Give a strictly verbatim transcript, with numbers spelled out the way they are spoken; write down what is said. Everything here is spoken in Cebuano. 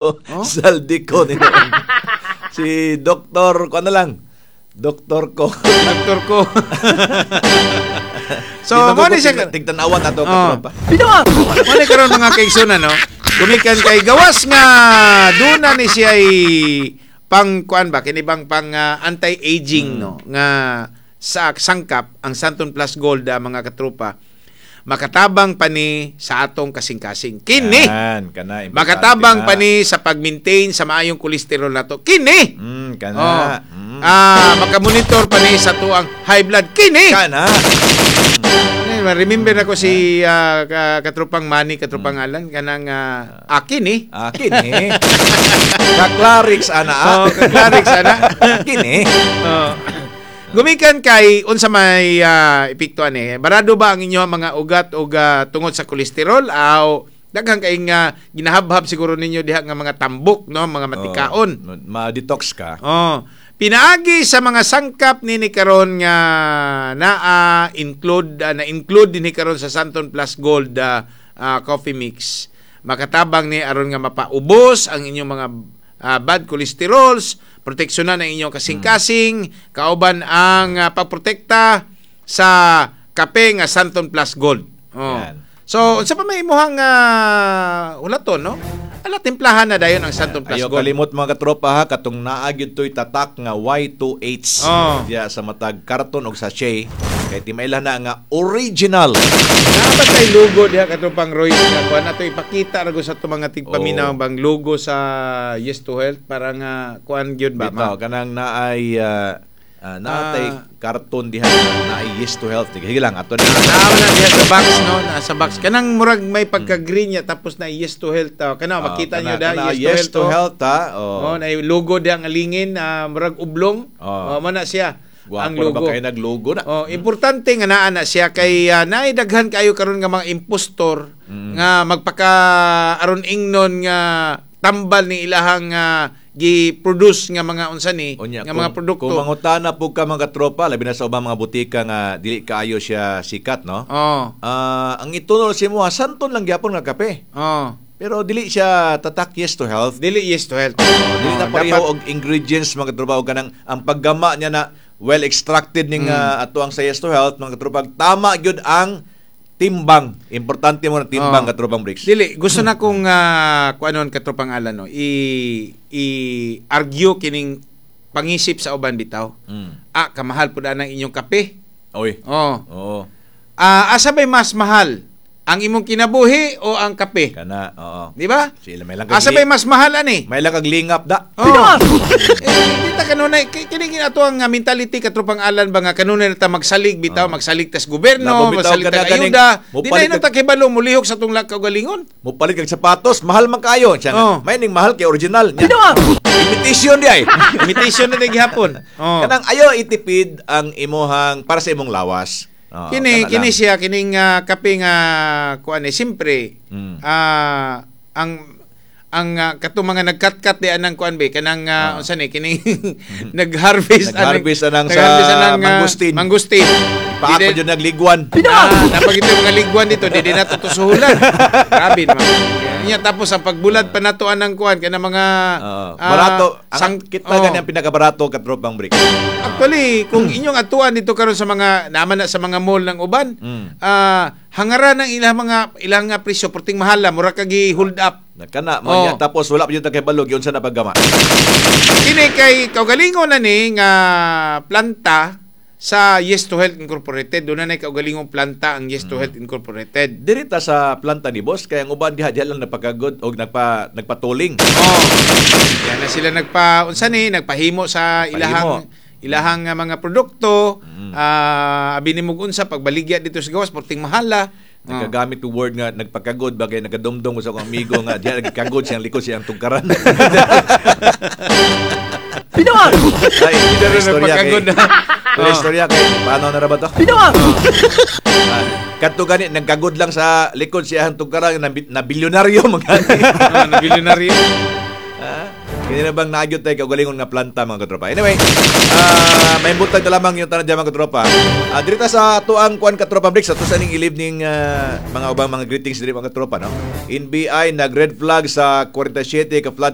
Oh? Zaldy Co ni si Doktor, ko ano lang? Doktor ko. Doktor ko. So, mo ni siya tigtanawan nato Oh. katropa. Mo ni karon, mga kaigsunan, no. Gumikan kay gawas nga duna ni siya ay pang kuan ba, kini bang pang ah, anti-aging, no, nga sa sangkap ang Santon Plus Gold, ah, mga katropa, makatabang pa ni sa atong kasing-kasing kini. Yan, kana importante Makatabang na. pa ni sa pag-maintain sa maayong kolesterol nato kini. Mm, kana. Oh. Mm. Ah, makamonitor pa ni sa tuang high blood kini. Kana. Ano, remember ako si ah, ka- katropang Manny, katropang Alan, kanang ah, akin eh. Akin eh. Kaklarix ana. Oh, kaklarix ana. Akin eh. Oh. Gumikan kay unsa may ah, epekto ani? Barado ba ang inyong mga ugat og ah, tungod sa kolesterol aw daghan kay nga ginahabhab siguro ninyo diha nga mga tambok, no, mga matikaon? Oh, ma-detox ka. Oh, pinaagi sa mga sangkap nini karon nga naa include ah, na include dinhi karon sa Santon Plus Gold ah, ah, coffee mix. Makatabang ni aron nga mapaubos ang inyong mga ah, bad cholesterols, proteksyonan ang inyong kasing-kasing, kauban ang ah, pagprotekta sa kape nga Santon Plus Gold. Oh. Yan. So, unsa pa may imuhang uh, ulaton, no? Ala, timplahan na dayon ang Santon Plus Ayaw Gold. kalimot, mga katropa, ha, katong naa gyud to'y tatak nga Y two H Oh. diya sa matag karton og sachet kay timaila na nga original. Naa ba tay logo diha, katropang Roy, nga kuan ato ipakita ra gud sa ato mga tigpaminaw Oo. bang logo sa Yes to Health para nga kuan gyud ba Bitaw ma? kanang naay uh, uh, naatay Ah. karton diha nga naay Yes to Health. Sige lang, ato na. Naa na diha sa box, no, naa sa box kanang murag may pagka-green niya, tapos na Yes to Health, ah. Kana Ah, makita kana- niyo da kana Yes to Yes Health. to Oh. Health ha. Oh. Oh, na logo diha nga lingin, ah, murag oblong. Oh. Oh, mo na siya Gwapo ang na ba logo. kayo naglogo na? Oh, importante nga naa na siya kay uh, naay daghan kayo karon nga mga impostor Mm. nga magpaka aron ingnon nga tambal ni ilahang uh, gi-produce nga mga unsa ni Unya, nga mga produkto. kung mangutana po ka, mga katropa, labi na sa ubang mga butika nga dili kaayo siya sikat, no? Oh. Ah, ang itunol si mo, Santon lang gyapon nga kape. Oh. Pero dili siya tatak Yes to Health. Dili Yes to Health. Oh, dili na Oh, pareho dapat- og ingredients, mga katropa, og kanang ang paggama niya na well extracted ning Mm. ah, ato ang sa Yes to Health, mga katropa, tama gyud ang timbang. Importante mo na timbang, Oh. katropang Bricks. Dili gusto na kong uh, kuanon, katropang Alan, no. I i argue kining pangisip sa uban bitaw. Mm. Ah, kamahal pud ang inyong kape. Oy. Oh. Oo. Ah, asa bay mas mahal? Ang imong kinabuhi o ang kape? Kana, oo. Di ba? Sila may lang kag Asa bay mas mahal ani? May lang kag lingap da. Oh. Eh, di ta kanunay kay kini ato ang uh, mentality, katropang Alan, ba nga kanunay na ta magsalig bitaw, Oh. magsalig tas gobyerno, Nabo, bitaw, magsalig kana tas ganing ayuda. Di mupalit na ta kibalo mulihok sa tong kaugalingon. Mupalit kag sapatos, mahal man kayo. Siya nga, Oh. may ning mahal kay original. Nya. Imitation di ay. Imitation na din gihapon. Oh. Kanang ayo itipid ang imuhang para sa imong lawas. Oo, Kini kana kini lang. siya kining ah, kape nga kuan eh siyempre Mm. ah, ang ang uh, katong mga nagkatkat di anang kuan be kanang uh, Ah. unsa ni kining nag-harvest Nag-harvest anang sa nag-harvest anang, ah, mangustin. mangustin. Paako Di- jud nagligwan. Ah, napag ito yung mga ligwan dito, di di nato tusuhulan. Grabe naman. Nya tapos ang pagbulad pa nato anang kuan kana mga Oo. ah, Barato. Ang sang- kita oh. gani ang pinakabarato, katropang Brick. Actually, kung inyong atuan dito karon sa mga naman na sa mga mall ng uban, Mm. ah hangaran ang ilang mga ilang nga presyo perting mahala, mura ka gi hold up. Kana mo Oh. niya tapos wala pa jud ta kay balog yun sa napaggama. Kini kay kaugalingon na ni nga planta sa Yes to Health Incorporated. Doon na na kaugalingong planta ang Yes to Mm. Health Incorporated. Diri ta sa planta ni boss kay ang uban diha diha lang napagagod og nagpa nagpatuling. Oh. Yan na sila nagpa unsa ni nagpahimo sa ilahang ilahang nga mga produkto. Mm. Ah, abi nimo unsa pagbaligya dito sa gawas porting mahala. Oh. Nagagamit og word nga nagpakagod bagay nagadumdum ko sa akong amigo nga diha nagkagod siyang likod siyang tungkaran. Ay, Pero istorya kay. nagpakagod na. Pero Oh. istorya kay paano na ra ba to? Ah, kadto gani nagkagod lang sa likod siyang tungkaran na, na bilyonaryo man gani. Oh, na bilyonaryo. Ah. Kini na bang nagyot tayo kaugalingon nga planta, mga katropa. Anyway, ah may butag na lamang yung tanan dyan, mga katropa. Uh, dirita sa tuang kuan, katropa Bricks, ato sa ning ilib ning ah, mga ubang mga greetings diri, mga katropa, no. N B I nag red flag sa forty-seven ka flood.